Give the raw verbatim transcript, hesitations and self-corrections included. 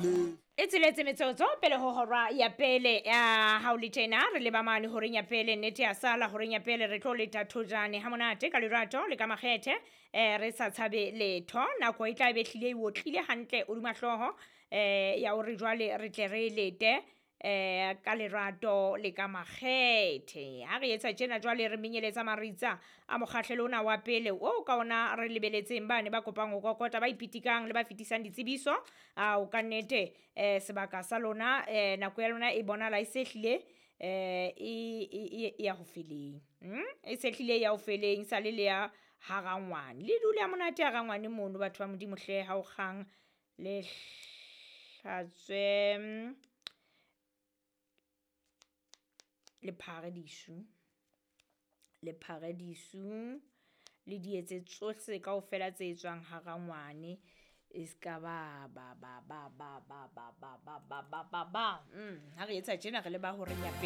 sale. E tsheletse metsotso pele ho hora ya pele ya ha o le tjena re leba mane horeng ya pele, nnete ya sala horeng ya pele re tlo leta thojane ha monate ka lerato le ka makgethe, eh re sa tshabe letho. Nako e tla be hlile e otlile hantle hodima hlooho, eh ya hore jwale re tle re lete eh ka lerato le ka makgethe. Ha re etsa tjena jwale re menyeletsa maritsa a mokgahlelo ona wa pele o ka ona re lebeletseng bane ba kopang ho kokota, ba ipitikang le ba fetisang ditsebiso. Ao ka nnete, eh sebaka sa lona, eh nako ya lona e bonahala e se hlile, eh e e e ya ho feleng. Mm e se hlile ya ho feleng sa le le ya harangwane, le dule ha monate harangwane mono batho ba Modimo hle. Ha o kgang le hlatswe le phare disu, le phare disu le di etse tsohle kaofela tse etswang harangwane, e ska ba ba ba ba ba ba ba ba ba ba ba ba. Mm ha re etsa tjena re leba horeng ya pele.